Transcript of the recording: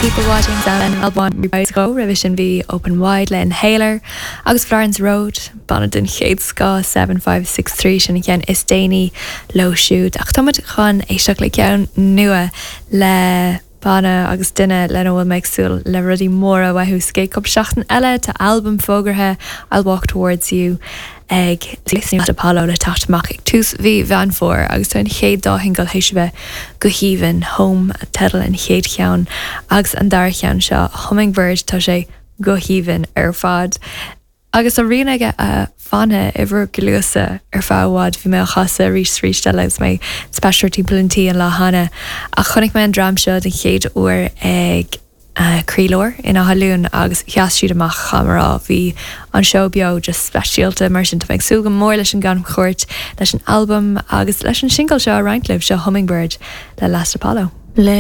People Watching Sound Albain roimhe sin bhí Open Wide le Inhaler agus Florence Road, banna den chéad scoth 7563 sin an ceann is déanaí leo siúd. Ach táimid chun éisteacht le ceann nua le banna agus duine lena bhfuil mé ag súil le rudaí móra uathu sa gcéad cúpla seachtain eile. Tá albam fógartha, I'll Walk Towards You, ag Last Apollo le teacht amach ag tús mhí Mheán Fómhair agus tá an chéad dá shingil théis a bheith go haoibhinn, Home teideal an chéad cheann agus an dara ceann seo, Hummingbird, tá sé go haoibhinn ar fad. Agus tá rian aige a fhanfaidh i bhur gcluasa ar feadh i bhfad. Bhí mé á chasadh arís is arís eile agus mé ag spaisteoireacht timpeall an tí an lá cheana. Ach chonaic mé an dream seo den chéad uair ag Croílár in Áth Luain agus sheas siad amach, caithfidh mé a rá. Bhí an seó beo just speisialta. Mar sin tá mé ag súil go mór leis an gcamchuairt, leis an albam agus leis an singil seo a roinnt libh. Seo Hummingbird le Last Apollo. Le.